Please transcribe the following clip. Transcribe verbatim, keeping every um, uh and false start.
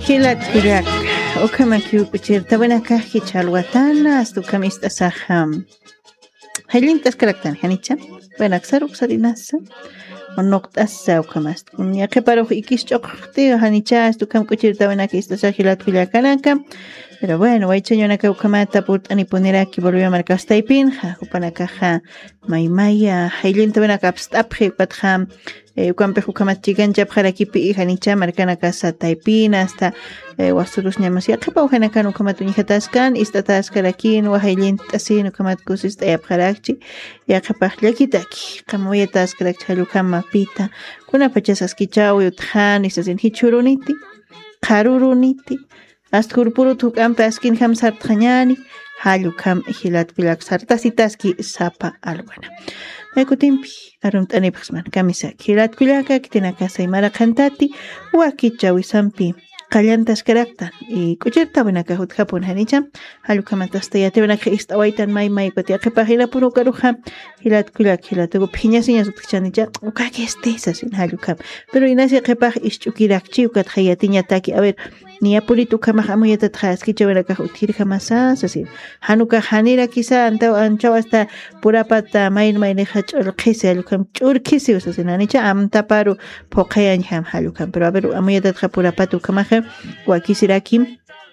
Jilat kullak, ukhamakiw k'uchirtawinakax jichha alwatana, asta ukham ist'asaxa. Jallint'askaraktan, janicha. Bueno, aksaruksar inasa. Unuqt'asa ukhamasta. Yaqhiparux ikis ch'uqti, janicha, asta ukham k'uchirtawinak ist'asa jilat kullakanaka. Pero bueno, waychañunaka ukhamata purt'anipuniraki Bolivia markastaypinxa, jupanakaxa maymaya, jallintawinaka apst'apxi, ukatxa, eh, ukampix ukhamat chikanchapxarakipi, janicha markanakasa taypina, asta, eh, wasurus ñamas yaqhipa ujanakan ukhamat uñjataskan, ist'ataskarakin, wajayllint'asin, ukhamat kusist'ayapxarakchi, yaqhipax llakitaki, qamawayataskarakchi, jallukama pita, kunapachas askichawi utjani, sasin jichhuruniti, qharuruniti, asta jurpurut juk'ampi askinjam sartxañani, jallukam jilat kullak sartasitaski sapa alwana. May kutimpi, arumt'anipxsman, kamisaki, jilat kullaka, khitinakasay maraqantati, wakichawisampi, qallantaskaraktan, y k'uchirtawinaka jutjapun janicha, jallukhamat asta yatiwinaka ist'awaytan may may kuti, yaqhipax jilapun ukaruxa, jilat kullak, jilatuku phiñasiñas utjchanicha, ukakisti, sasin jallukham. Pero inasi yaqhipax isch'ukirakchi, ukatxa yatiñataki, a ver, niyapunit ukhamax amuyatatxa askichawinakax utjirjamasa, sasin. Jan ukax janirakisa, antaw, anchaw asta purapata, mayn maynixa ch'urqhisi, jallukham ch'urqhisi, sasin, janicha amtaparu phuqhayañjam, jallukham. Pero a ver, amuyatatxa purapata ukhamaxa, wakisirakim,